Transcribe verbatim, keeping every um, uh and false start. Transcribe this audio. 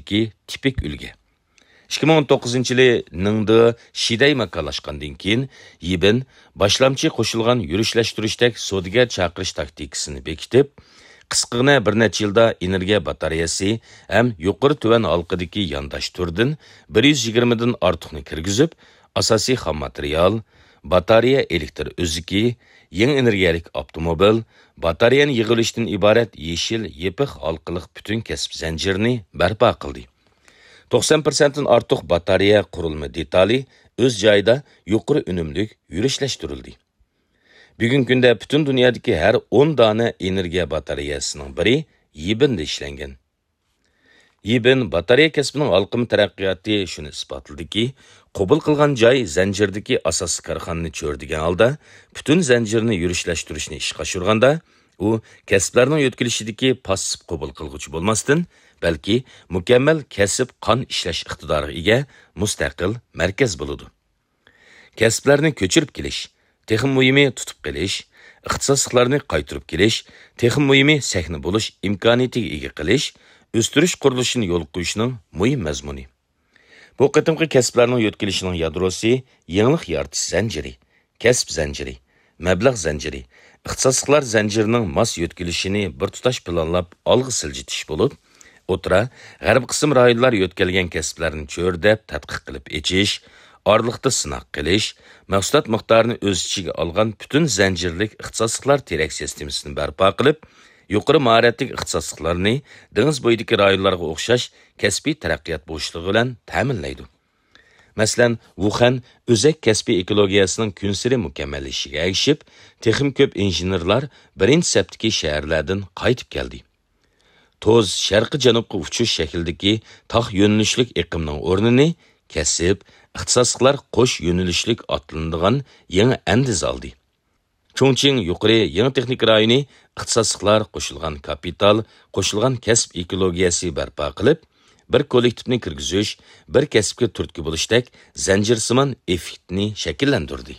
تىپىك ئۈلگە. ئىككى مىڭ ئون توققۇزىنچى يىلى نىڭدې شىدەي ماكانلاشقاندىن كېيىن، يىبىن باشلامچى قوشۇلغان يۈرۈشلەشتۈرۈشتەك سودىگەر چاقىرىش تاكتىكىسىنى بېكىتىپ، قىسقىغىنە بىر نەچچە يىلدا ئېنېرگىيە باتارېيەسى ھەم يۇقىرى تۆۋەن ھالقىدىكى يانداش تۈرىدىن بىر يۈز يىگىرمىدىن ئارتۇقنى كىرگۈزۈپ، ئاساسىي خام ماتېرىيال، باتارېيە ئېلېكتر ئۈزۈكى، يېڭى ئېنېرگىيەلىك ئاپتوموبىل، باتارېيەنى يىغىۋېلىشتىن ئىبارەت يېشىل يېپىق ھالقىلىق پۈتۈن كەسىپ زەنجىرىنى بەرپا قىلدى. توقسان پىرسەنتتىن ئارتۇق باتارېيە قۇرۇلما دېتالى ئۆز جايىدا يۇقىرى ئۈنۈملۈك يۈرۈشلەشتۈرۈلدى. بۈگۈنكى كۈندە پۈتۈن دۇنيادىكى ھەر ئون دانە ئېنېرگىيە باتارېيەسىنىڭ بىرى يىبىندا ئىشلەنگەن. يىبىن باتارېيە كەسپىنىڭ ھالقىما تەرەققىياتى شۇنى ئىسپاتلىدىكى، قوبۇل قىلغان جاي زەنجىرىدىكى ئاساسىي كارخانىنى چۆرىدىگەن ھالدا پۈتۈن زەنجىرنى يۈرۈشلەشتۈرۈشنى ئىشقا ئاشۇرغاندا، ئۇ كەسىپلەرنىڭ يۆتكىلىشىدىكى پاسسىپ قوبۇل قىلغۇچى بولماستىن، بەلكى مۇكەممەل كەسىپ قان ئىشلەش ئىقتىدارىغا ئىگە مۇستەقىل مەركەز بولىدۇ. كەسىپلەرنى كۆچۈرۈپ كېلىش، تېخىمۇ مۇھىمى تۇتۇپ قېلىش، ئىختىساسلىقلارنى قايتۇرۇپ كېلىش، تېخىمۇ مۇھىمى سەھنە بولۇش ئىمكانىيىتىگە ئىگە قىلىش، ئۆستۈرۈش قۇرۇلۇشىنى يولغا قويۇشنىڭ مۇھىم مەزمۇنى. بۇ قېتىمقى كەسىپلەرنىڭ يۆتكىلىشىنىڭ يادروسى يېڭىلىق يارىتىش زەنجىرى، كەسىپ زەنجىرى، مەبلەغ زەنجىرى، ئىختىساسلىقلار زەنجىرىنىڭ ماس يۆتكىلىشىنى بىر تۇتاش پىلانلاپ ئالغا سىلجىتىش بولۇپ، ئوتتۇرا، غەربىي قىسىم رايونلار يۆتكەلگەن كەسىپلەرنى چۆرىدەپ تەتقىق قىلىپ ئېچىش، ئارىلىقتا سىناق قىلىش، مەھسۇلات مىقدارىنى ئۆز ئىچىگە ئالغان پۈتۈن زەنجىرلىك ئىختىساسلىقلار تىرەك سىستېمىسىنى بەرپا قىلىپ، يۇقىرى ماھارەتلىك ئىختىساسلىقلارنى دېڭىز بويىدىكى رايونلارغا ئوخشاش كەسپىي تەرەققىيات بوشلۇقى بىلەن تەمىنلەيدۇ. مەسىلەن، ۋۇخەن ئۆزەك كەسپىي ئېكولوگىيەسىنىڭ كۈنسېرى مۇكەممەللىشىشىگە ئەگىشىپ، تېخىمۇ كۆپ ئىنژېنېرلار بىرىنچى سەپتىكى شەھەرلەردىن قايتىپ كەلدى. توز شەرقىي جەنۇبقا ئۇچۇش شەكلىدىكى تاق يۆنىلىشلىك ئېقىمنىڭ ئورنىنى كەسىپ، ئىختىساسلىقلار قوش يۆنىلىشلىك ئاتلىنىدىغان يېڭى ئەندىزە ئالدى. چۇڭچىڭ يۇقىرى يېڭى تېخنىكا رايونى ئىختىساسلىقلار قوشۇلغان كاپىتال، قوشۇلغان كەسىپ ئېكولوگىيەسى بەرپا قىلىپ، بىر كوللېكتىپنى كىرگۈزۈش، بىر كەسىپكە تۈرتكە بولۇشتەك زەنجىرسىمان ئېففېكتنى شەكىللەندۈردى.